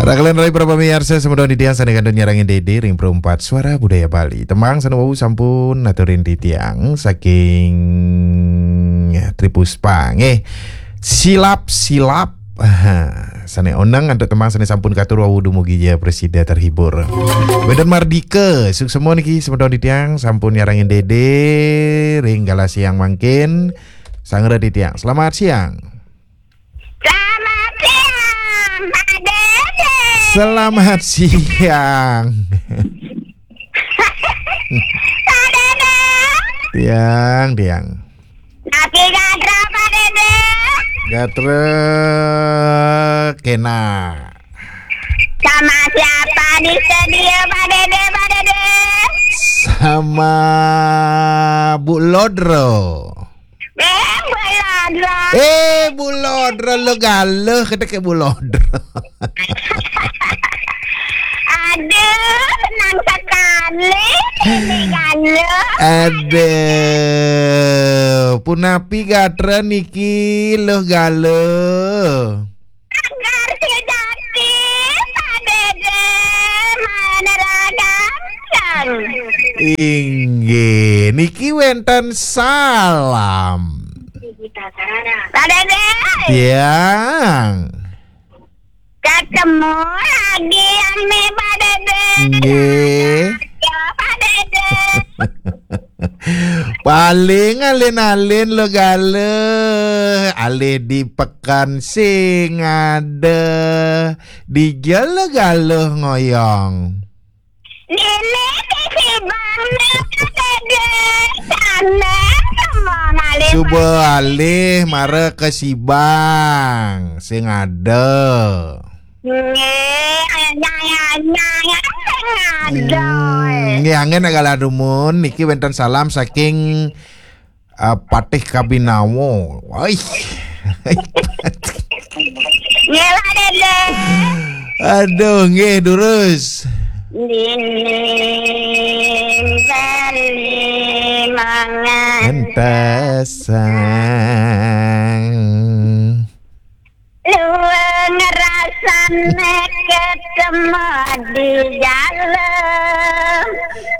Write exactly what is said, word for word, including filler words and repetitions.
Ragelen rai para pamiarsa, semeton titiang sané kantun nyarengin Dédé ring Perempat Suara Budaya Bali. Tembang sané wau sampun aturin titiang saking Tripuspa nggih. Silap-silap. Sané oneng antuk tembang sané sampun katur wau dumugi ja prasida terhibur. Wénten Mardika, suksma niki semeton titiang sampun nyarengin Dédé ring galah siang mangkin. Sangra titiang. Selamat siang. Selamat siang, Pak Dédé. Selamat siang. Pak Dédé. Tiang, tiang. Napi gatra, Pak Dédé? Gatra kena. Sama siapa di studio, Pak Dédé, Pak Dédé? Sama Bu Lodro. Eh, Bu Lodro. Eh, Bu Lodro, lo galuh, kata ke Bu Lodro. Aduh, senang sekali ini galuh. Aduh, punapi gatra niki lo galuh. Agar tidak kita Dédé meneragangkan. Inggih, niki wénten salam. Pak Dédé. Tiang. Ketemu lagi ame Pak Dédé. Nggih. Ya, Pak Dédé. Paling alin-alin lo galuh, alih di pekan sing ada, di jelo galuh ngoyong. Nini ke Sibang, Pak Dédé. Sana, semua ngalih. Suba alih mara ke Sibang sing ada. Nggih, anyang, anyang, anyang, sing ada. Hmm, nggih, anggen galah dumun. Niki wénten salam saking, eh, Patih Kabinawo. Woi. Nggih, Pak Dédé. Aduh, nggih, durus. Dinding Bali mangan. Entasan.